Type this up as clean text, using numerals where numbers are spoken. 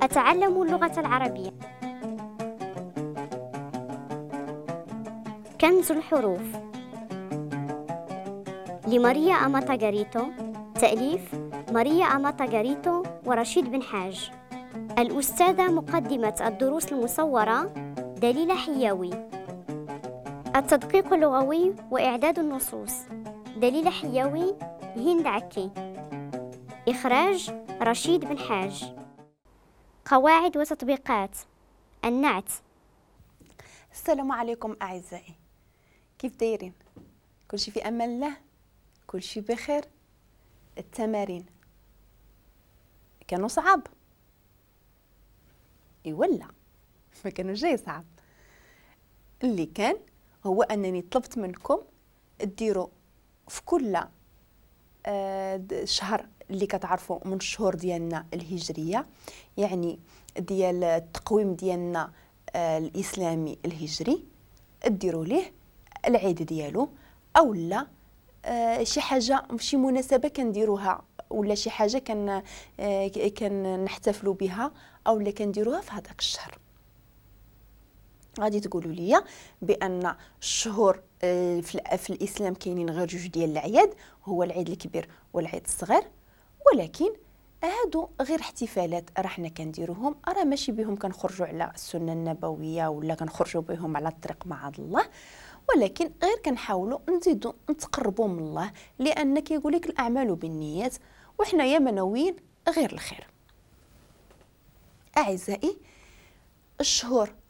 أتعلم اللغة العربية. كنز الحروف لماريا أماتا غاريتو، تأليف ماريا أماتا غاريتو ورشيد بن حاج. الأستاذة مقدمة الدروس المصورة دليلة حياوي. التدقيق اللغوي وإعداد النصوص دليلة حياوي، هند عكي. إخراج رشيد بن حاج. قواعد وتطبيقات النعت. السلام عليكم أعزائي، كيف دايرين؟ كلشي في أمان الله، كلشي بخير. التمارين كانوا صعاب؟ إي ولا ما كانوا جاي صعب. اللي كان هو أنني طلبت منكم ديروا في كل شهر اللي كتعرفوا من الشهور ديالنا الهجرية، يعني ديال التقويم ديالنا الإسلامي الهجري، ديروا ليه العيد ديالو، أو لا شي حاجة، شي مناسبة كنديروها، ولا شي حاجة كنحتفلوا بها، أو لا كنديروها في هذاك الشهر. غادي تقولوا لي بأن الشهور في الإسلام كاينين غير جوج ديال الأعياد، هو العيد الكبير والعيد الصغير، ولكن هادو غير احتفالات راه حنا كنديروهم، راه ماشي بهم كنخرجوا على السنة النبوية ولا كنخرجوا بهم على الطريق مع الله، ولكن غير كنحاولوا نزيدوا نتقربوا من الله، لأن كيقول لك الأعمال بالنيات، وحنا يا منويين غير الخير. أعزائي، الشهور